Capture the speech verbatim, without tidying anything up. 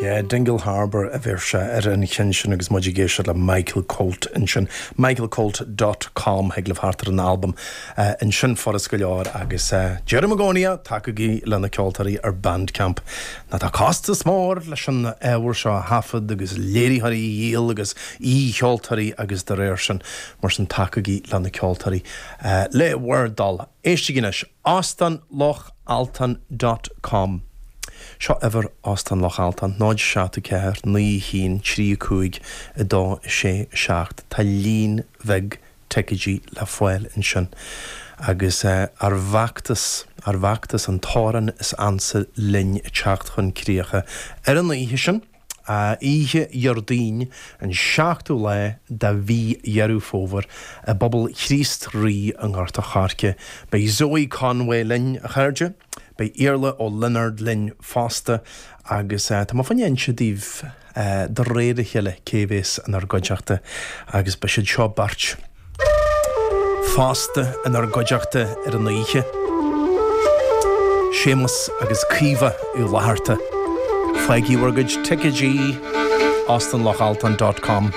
Yeah, Dingle Harbour a bheir sé ar an cheann sin agus muid ag éisteacht le Michael Colt ansin. michaelcolt dot com thig libh theacht ar an albam uh, ansin furast go leor agus uh, deirim i gcónaí, tacaigí le na ceoltóirí ar Bandcamp. Ná tá costas mór leis an ábhar seo thaifead agus léiritheoirí a dhíol agus aoi-cheoltóirí agus de réir sin, mar sin tacaigí le na ceoltóirí uh, le bhur dtoil. Éistigí anois, óstán loch altan dot com. Seo uimhir Óstán Loch Altan, náid seacht ceathair naoi haon trí cúig a dó sé seacht. Tá líon beag ticéidí le fáil ansin. Agus uh, ár bhfeachtas ár bhfeachtas An tAmhrán is Ansa Linn ag teacht chun críche ar an oíche sin, oíche Dhéardaoin, an seachtú lá de mhí Dheireadh Fómhair, i bPobal Chríost Rí i nGort an Choirce. Beidh Zoe Conway linn, a chairde, beidh Iarla Ó Lionáird linn fosta agus uh, tá má fanne se díobh uh, de réir a chéile cé bheas inár gcuideachta agus beidh siad seo beirt fosta inár gcuideachta ar an oíche. Séamus agus Caoimhe Uí Fhlatharta. Faighigí bhur gcuid ticéidí, óstánlochaltan dot com.